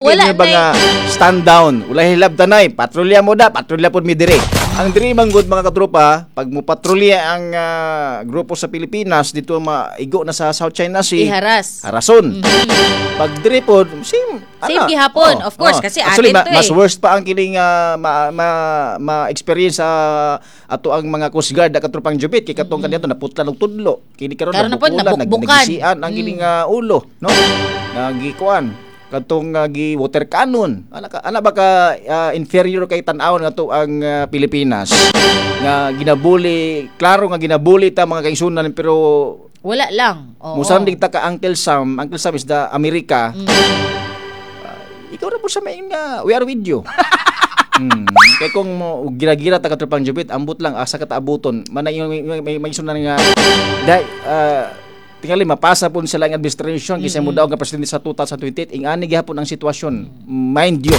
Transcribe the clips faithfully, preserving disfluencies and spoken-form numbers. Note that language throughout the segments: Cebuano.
Wala Wala ba nga stand down? Wala hilabtanay, patrolya mo da, patrolya pod mi dire. Ang diri man gud, mga katropa, pag mo patrolya ang ah, grupo sa Pilipinas dito, maigo na sa South China Sea. Iharas. Harason. Pag diri pod, same. Same ana. gihapon, Oo, of course, oo. kasi Actually, atin ma- to eh. mas worst pa ang kining ah, ma, ma, ma-experience sa ato ang mga Coast Guard, katropang Jubit, kay katong kaniadto naputlan og tudlo. Kini karon Karon na pod, nabukulan, nag- nabukbukan. nagisian ang kining ah, ulo, no? Nagikuan katong uh, gi water cannon. Ana ka, ana ba ka ah, inferior kay tan-awon nga to ang ah, Pilipinas nga ginabuli, klaro nga ginabuli ta, mga kaigsunan, pero Wala lang. Oo. musandig ta ka Uncle Sam. Uncle Sam is the America. Mm. Ah, ikaw ra po sa may nga we are with you. Hmm. Kay kung mo gira-gira ta, katropang Jubit, ambot lang asa ka taabuton. Mana yung may, may, may, may sunan nga dai uh, tingali mapasa pud sila ang administration kaysa mo daw nga presidente sa twenty twenty-eight, ingani gihapon ang sitwasyon. Mind you,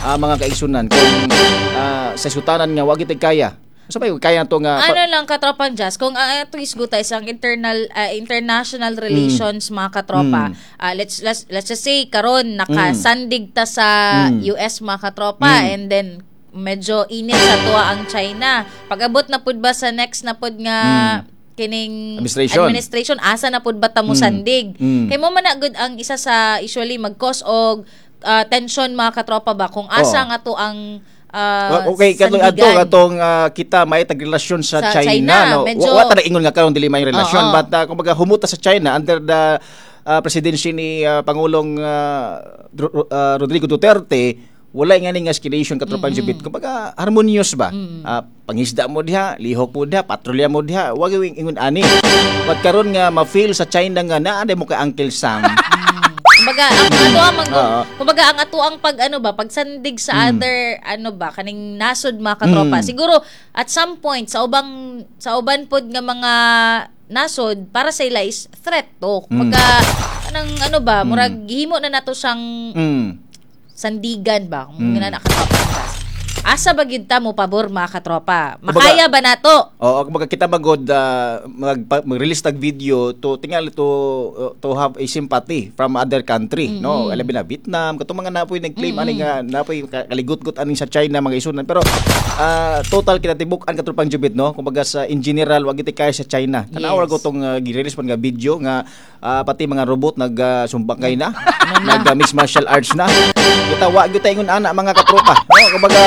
ah, mga kaigsunan, kung ah, sa sutanan nga wa gid kaya. Sa may kaya to nga Ano lang, katropang Jazz, kung ang atong isguta is ang internal ah, international relations, mga katropa. Mm. ah, let's let's let's just say karon nakasandig ta sa Mm. U S, mga katropa, Mm. and then medyo init sa tuwa ang China. Pag-abot na pud ba sa next na pud nga kining Administration. Administration, asa na pud ba ta mo Mm. sandig? Mm. Kay mo man na gud ang isa sa usually mag-cause og ah, tension, mga katropa ba, kung asa Oo. nga to ang ah, okay, katong ato sandigan. Katong ah, kita may tag relasyon sa Sa China, China, no. medyo- Wa, wa ta ingon nga karon dili may relasyon, Oo. but uh, kumbaga humuta sa China under the ah, presidency ni ah, Pangulong ah, Ro- ah, Rodrigo Duterte, wala nga ning escalation, katropang mm-hmm. Kumbaga harmonious ba? Ah, pangisda mo diha, lihok mo diha, patrolya mo diha, wa gyud ingon ani. But karon nga ma-feel sa China nga naa mo kay Uncle Sam. Kumbaga ang ato ang mag, Oo. kumbaga ang ato ang pag ano ba, pagsandig sa other ano ba, kaning nasod, mga katropa. Mm. Siguro at some point sa ubang sa uban pod nga mga nasod, para sa ila is threat to. Kumbaga anang ano ba, murag gihimo na nato siyang mm. sandigan ba kung Mm. mm. na katropa. Asa ba gyud ta mo pabor, mga katropa? Kumbaga- Makaya ba nato? Oo, kumbaga kita magod uh, mag, mag-release tag video to tingali to uh, to have a sympathy from other country, no? Alabi na Vietnam, katong mga napoy nag-claim ani nga napoy ka- kaligut-gut ani sa China, mga isunan. Pero ah, total kita tibuk-an, katropang Jubit, no? Kumbaga sa in general wag gid kaya sa China. Tanaw Yes. ko tong uh, gi-release man nga video nga ah, pati mga robot nag uh, sumbangkay na, nag uh, mixed martial arts na. Kita wa gyud ta ingon ana, mga katropa. No, kumbaga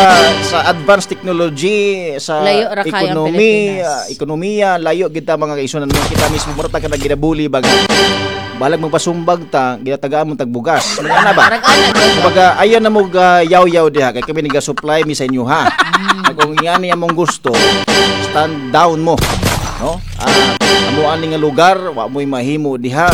sa advanced technology, sa Layo ra kayo ang economy, Pilipinas. ah, ekonomiya, layo kita, mga kaisunan mo. Kita mismo mura ta ka ginabuli baga. Balag magpasumbag ta, ginatagaan mo tagbugas. Mga ana ba? Murag ana gyud. Kumbaga ayaw na mo ga yaw-yaw diha kay kami naga-supply mi sa inyo ha. Kung ngani among gusto, stand down mo. No? Ah, amo ani nga lugar, wa mo'y mahimo diha.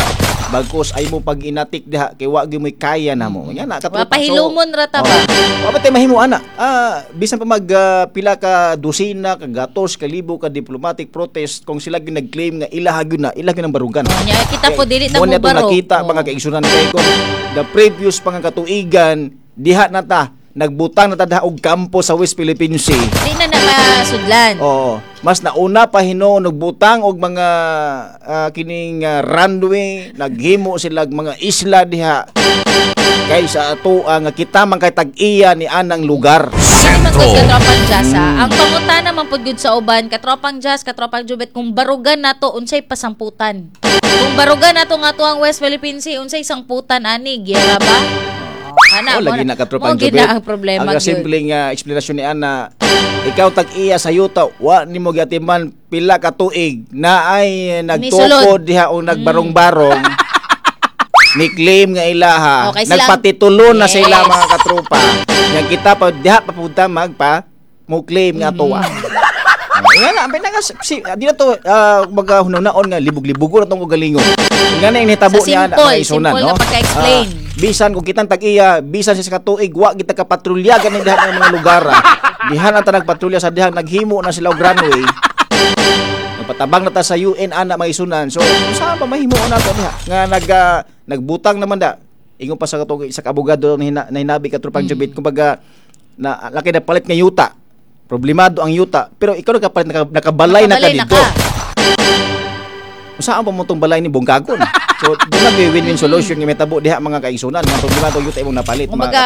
Bagkus ay mo pag inatik diha kay wa gyud mo'y kaya na mo. Nga na Wa pahilumon ra ta ba? Oh. Wa ba tay mahimo ana? Ah, bisan pa mag ah, pila ka dosina, ka gatos, ka libo ka diplomatic protest, kung sila gyud nag-claim nga ilaha gyud na, ilaha gyud ang barugan. Nya kita po dili ta Mo mo na itong barog. nakita, Oo. mga kaigsunan, kay kung the previous pa nga katuigan diha na ta nagbutang na ta diha og kampo sa West Philippine Sea. Di na na masudlan. Oo. Mas nauna pa hinuon nagbutang og mga ah, kining ah, runway, naghimo sila og mga isla diha kaysa ato nga kita man kay tag-iya ni anang lugar. Kini man gud, katropang Jazz ha. Ang pangutana man pud gud sa uban, katropang Jazz, katropang Jubet, kung barugan nato, unsay pasamputan? Kung barugan nato nga to ang West Philippine Sea, unsay sangputan ani? Giyera ba? Ana, Oh, lagi na, katropang mo gid Jubet. na ang problema Ang gyud. simpleng uh, eksplanasyon ni Ana, ikaw tag-iya sa yuta, wa nimo giatiman pila ka tuig na ay nagtukod Nisulod. diha o nagbarong-barong. Ni claim nga ilaha. Okay, silang- Nagpatitulo na sila, Yes. mga katropa. Yang kita pa diha pa punta magpa mo claim nga tuwa. Nga na, ang pinaka si, di na to uh, kumbaga hunaon nga libog-libugo na tong ugalingon. Nga na yung nahitabo Sa niya ana, simple, mga isunan, simple no? nga pagka-explain. Ah, bisan kung kitang tag-iya, bisan sa katuig wa kita ka patrolya ganin diha ng mga lugar ah. Diha na ta nagpatrolya sa diha naghimo na sila og runway. Nagpatabang na ta sa U N ana, mga isunan. So, saan pa mahimo na to diha? Nga nag ah, nagbutang naman da. Ingon pa sa katong isa ka abogado na, hina, na hinabi, katropang mm. Jubit, kumbaga na laki na palit nga yuta. Problemado ang yuta, pero ikaw nakapalit naka, nakabalay na ka Nakabalay na dito. ka. Saan pa mo tong balay ni Bongkagon? So, doon na win-win solution nga mitabo diha, mga kaigsunan, nga problema to yuta imong napalit, mga Kumbaga,